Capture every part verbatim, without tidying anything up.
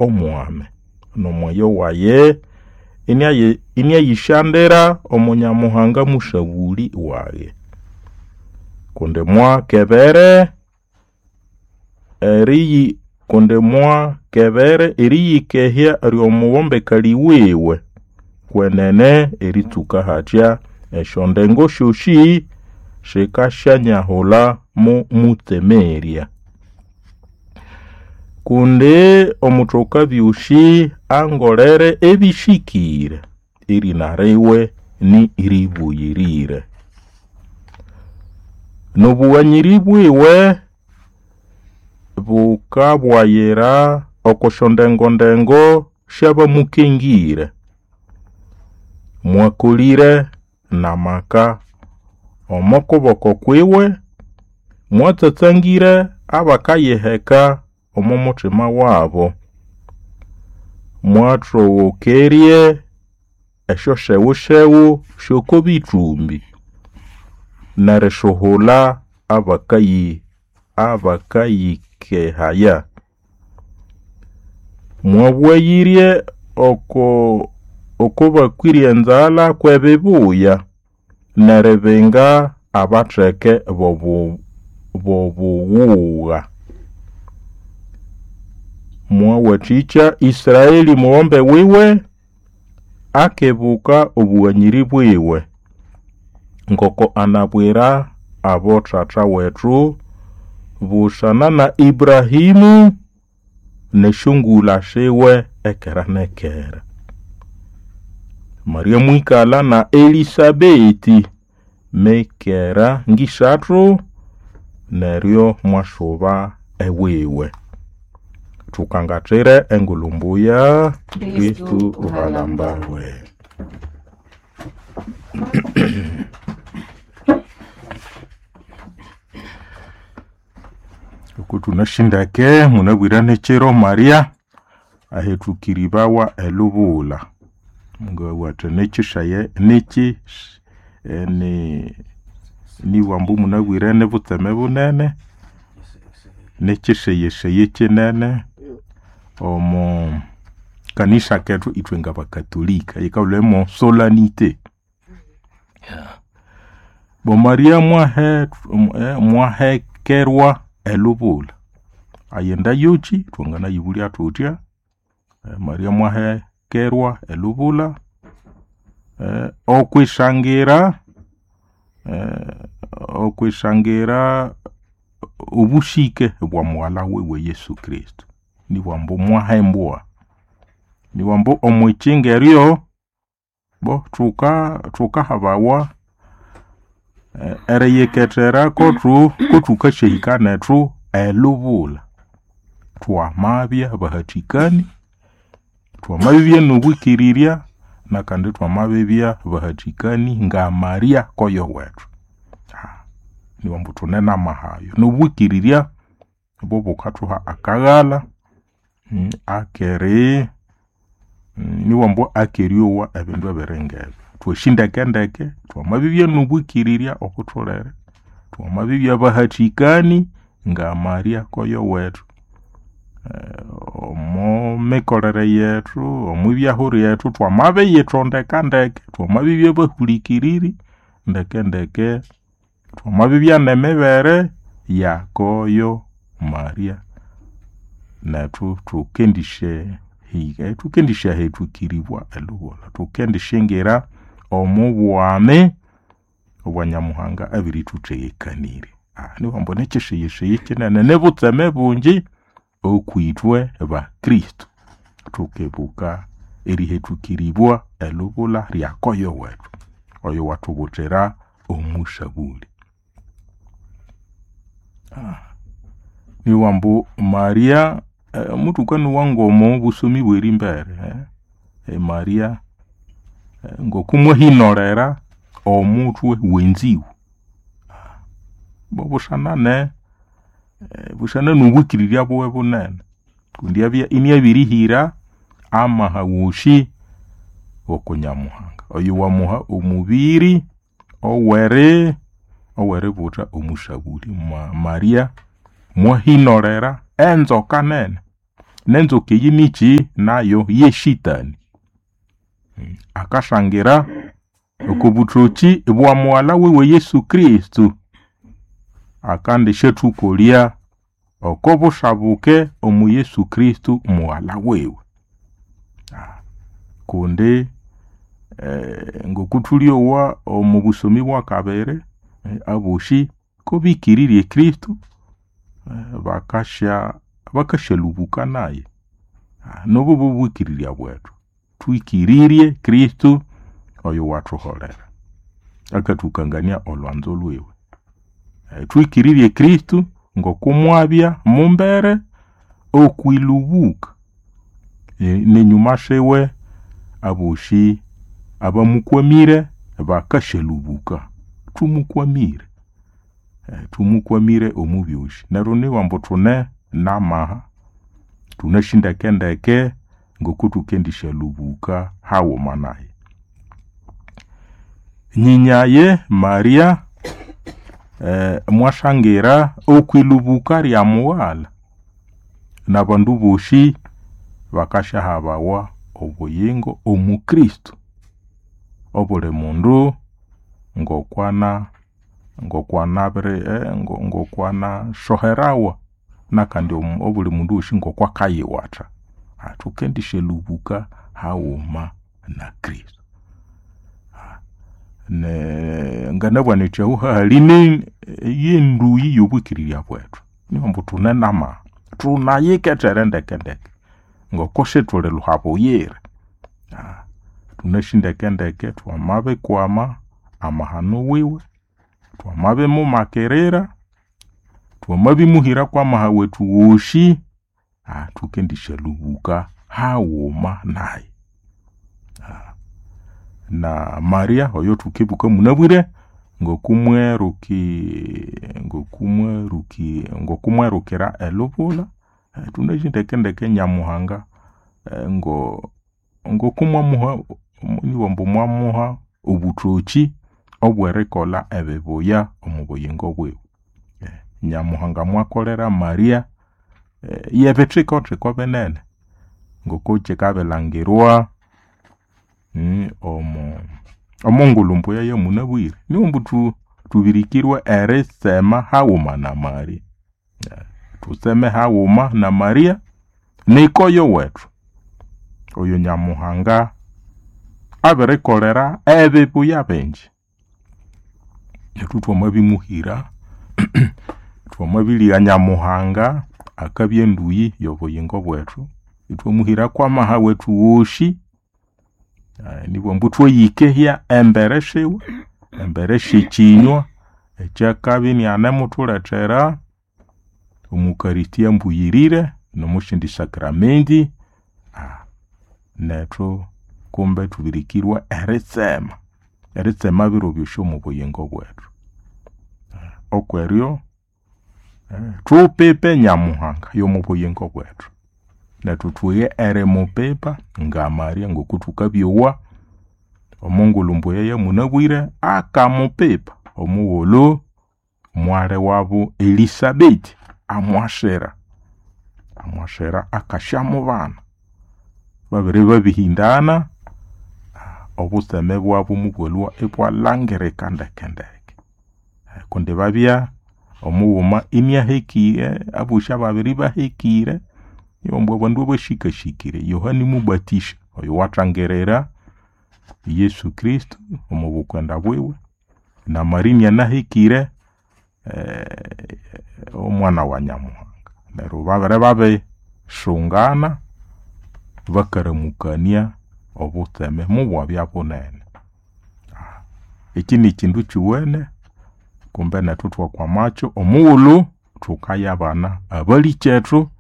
omwami n'omweyo waye inayishandira omunyamuhanga musabuli waye kundi mwakebere eriyi kundi mwakebere eriyikehya ry'omuwombekali wiwe kwenene eritsuka hatya esyondengo syosi sikasyanyahula mu mutsemerya kundi omuthoka byosi angolere ebishikire erina riwe ni ribuyirire n'obughanyiri bwiwe bukabwayira okosyondengondengo syabamukengire mwakolire n'amaka omo kuboko kwiwe mwatsatsangire abakayiheka omo muthima wabo mwathowokerye esyosyewusyewu sy'okobithumbi nerishuhula abakayi abakayikehaya mwabwayirye oko okobakwirye enzalha kw'ebibuya neribinga abatheke bobu bobughugha mwawathikya Israeli mughombe wiwe akebuka obughanyiri bwiwe ngoko anabwira abo thatha wethu busana na Ibrahimu nesyongulha siwe ekera nekera. Maria mwikalha na Elisabeti mekera ngisathu neryo mwasuba ewiwe. Thukangathire engulhu mbuya Kristu uhalambawe. Oku thunashindeke munabwire nekiro Maria ahethukiribawa elubula ngawatha nekishaye neki ni nibwambu munabwire nebutseme bunene nekiseyeseye kinene omo kanisa kethu ithwe ngabakatolika yikabulemo solanite. Bo Maria mwahe mwahekerwa elubula ayenda yoki thwanganayibulya thuthya Maria mwahekerwa elubula eh, okwisangira eh, okwisangira obushike bwa mughala wiwe Yesu Kristo nibwambu mwahembwa nibwambu omwikinga eryo bo thuka thukahabawa eh, eriyikethera kothu kothukasyahika nethu elubula twamabya bahathikani twamabibya nobwikirirya nakandi twamabibya bahathikani nga Maria koyo wethu niwambu thune namahayo nobwikirirya obo bukathuha akaghala akeri niwambu akeryowa ebindu ebiringebyo thwasindekendeke twamabibya nobwikirirya okutholere twamabibya bahathikani nga Maria koyo wethu omo mikolere yethu omwibyahu lyethu twamabiyithondeka ndeke twamabibya bahulikiriri ndekendeke twamabibya nemibere yakoyo Maria nethu thukendisye hika thukendisyahethukirirwa elubula thukendishingira omu bwami obwa Nyamuhanga abirithuthegekanirye. Niwambu nekyisiyisiyi kinene nibutseme bungi okwithwe bakristo thukebuka erihethukiribwa elubula lyakoyo wethu oyo wathubuthira omusabuli. Niwambu Maria eh, muthukanowa ngomo busomi bwerimbere eh, Maria eh, ngokumwahinolera omuthwe wenziwu bobusanane eh, busana nobwikirirya buwe bunene kundi abya iniabirihira amaha wosi okunyamuhanga oyo wamuha omubiri oweri oweributha omusabuli Ma, Maria mwahinolera enzoka nene Nenzoka eyi niki nayo yeshitani. Akashangira oko buthoki bwa mughalha wiwe Yesu Kristo akandi syathukolya oko bushabuke omu Yesu Kristo mughalha wiwe. Kundi eh, ngokuthulyowa omu busomi bwakabiri eh, aboshi kobikirirye Kristo eh, bakasya bakasyalubuka naye. Nobu bubwikirirya bwethu twikirirye Kristo oyo wathuholera akathukangania olwanzo lwiwe. Eh, twikirirye Kristo ngokumwabya mumbere okwilubuka e, nenyuma siwe aboshi abamukwamire bakasyalubuka. Tumukwamire e, tumukwamire omu byosi neryo niwambu thune namaha thunashindekendeke ngokuthukendisyalhubuka haghuma naye. Nyinyaye Maria eh, mwashangira okwilubuka lya mughalha nabandu boshi bakasyahabawa obuyingo omu Kristo. Obuli mundu ngokwana ngokwanabiri eh, ngokwana soherawa nakandi obuli mundu wosi ngokwakayiwatha. Thukendisyalubuka haghuma na Kristo. Ne nganabugha nethi ahu hahali yenduyi yobwikirirya bwethu niwambu thune namaha thunayikethere ndekendeke ngoko sithuli lhuhabuyira. Thunasi ndekendeke twamabikwama amahano wiwe, twamabimumakirira, twamabimuhira kwamaha wethu wosi, thukendisyalubuka haghuma naye. Na Maria oyo thukibuka munabwire ngokumweruki ngokumweruki ngokumwerukira elubula thunasi ndekendeke Nyamuhanga ngo ngokumwamuha niwambu mwamuha obuthoki obwerikolha ebibuya omu buyingo bwiwe. Nyamuhanga mwakolera Maria yebithikothiko binene ngoko kyikabilangirwa omu omongulhu mbuya yamunabwire. Niwambu thu thubirikirwe eritsema haghuma na Maria. Thutseme haghuma na Maria nikoyo wethu oyo Nyamuhanga abirikolera ebibuya bingi. Nethu thwamabimuhira thwamabiligha Nyamuhanga akabya enduyi yobuyingo bwethu ithwamuhira kwamaha wethu wosi nibwambu thwayikehya embere siwe embere syekyinywa ekyakabya inianemuthulethera omukaristia mbuyirire nomusyindi sakramenti nethu kumbe thubirikirwe eritsema eritsema biro byosi omu buyingo bwethu. Okweryo thupipe Nyamuhanga yomu buyingo bwethu nethu thughe erimupipa nga Maria ngokuthukabyowa omongulhu mbuya yamunabwire akamupipa omughulhu mwali wabu Elisabeti amwasira amwasira akasyamubana. Babiri babihindana obutseme bwabu mubwalhwa ibwalhangirika ndekendeke kundi babya omughuma iniahekire abosi ababiri ibahekire niwambu abandu abashikashikire Yohani Mubatisha oyo wathangirira Yesu Kristo omu bukwenda bwiwe na Maria inianahekire eh, omwana wa Nyamuhanga. Neryo babiri babisungana bakaramukania obutseme mubwabya bunene. Eki nikindu kiwene kumbe nethu thwakwamakyo omughulhu thukayabana abalikyethu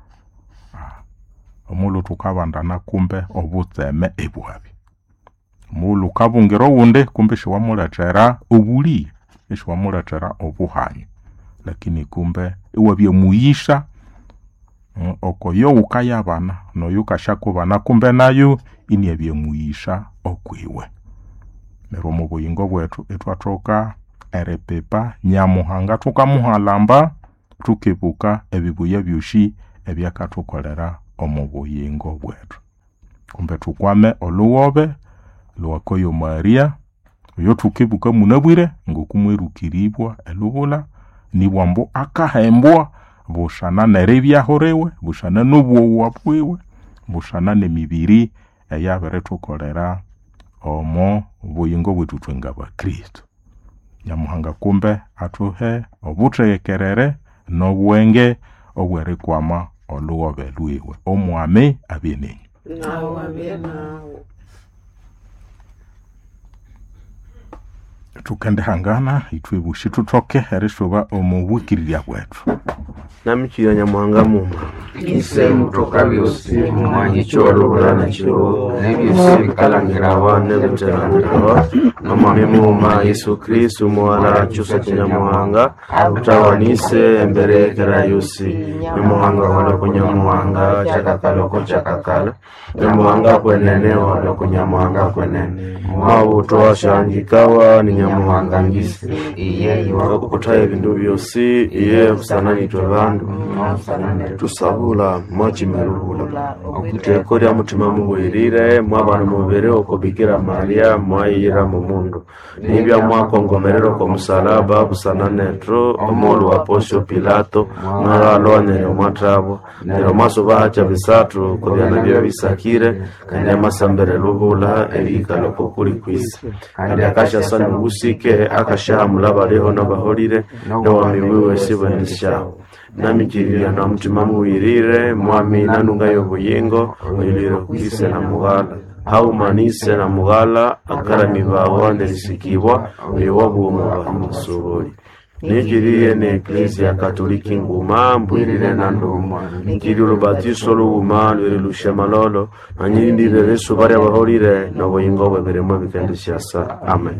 omughulhu thukabandana kumbe obutseme ibwabya. Omughulhu wukabungira owundi kumbe isiwamulethera obulighe, isiwamulethera obuhanya lakini kumbe iwabya muyisa okoyo wukayabana noyo wukasyakuba kumbe nayo iniabya muyisa okwiwe. Neryo omu buyingo bwethu ithwathoka eripipa Nyamuhanga thukamuhalamba thukibuka ebibuya byosi ebyakathukolera. omu buyingo bwetu. Kumbe tukwame olughobe lwakoyo Maria oyo thukebuka munabwire ngokumwerukiribwa elubula nibwa ambu akahembwa bushana neribyahuliwe bushana n'obwowa bwiwe bushana n'emibiri eyabirithukolera omo buyingo bwethu ithwe ngabakristo. Nyamuhanga kumbe athuhe obuthegekerere n'obwenge obwerikwama olughobe lwiwe. Omwami abye nenyu. Nawe abye nawe. Thukendihangana ithwe bushi thuthoke erisuba omu bwikirirya bwethu. Namikirya Nyamuhanga muma Ise mutoka byosi mumwanyicho walubulana chiro nebyosi bikalangirawa nebitelangirawa nomwami muuma Yesu Kristu muwala chusa cha Nyamuhanga utawanise emberekera yosi Nyamuhanga waloko Nyamuhanga chakakaloko chakakala Nyamuhanga kwenene waloko Nyamuhanga kwenene mwabutoa shangikawa ni Nyamuhanga ngisi iye iwa wakukuthaye ebindu byosi iye busananitwe bandu tusabula mwachimelubula okuteko lya mutima mubwirire mwabana mubiri oko Bikira Maria mwayira mumundu nibya mwakongomerera oko musalaba busana nethu omulu wa Pontio Pilato mwalwa neryo mwathabwa neryo mwasuba hacha bisathu kobyana byo bisakire kandi amasambere lubula erihikala oko kuli kwisi kandi akashasa nobusike akashahamula baliho nabaholire nowami wiwe sibwenesyawo namikirira na mutima muwirire mwami nanunga y'obuyingo oyulire kwise na mughala haumanise na mughala akaramibawa nerisikibwa oyo wabuomu bamusubuli nikiriye ne eklezia katoliki nguma mbwirire na nduma nikiri olubatiso lughuma lweri lushemalolo nanyirindire besu barya baholire n'obuyingo bw'ebirimo ebikendishyasa amen.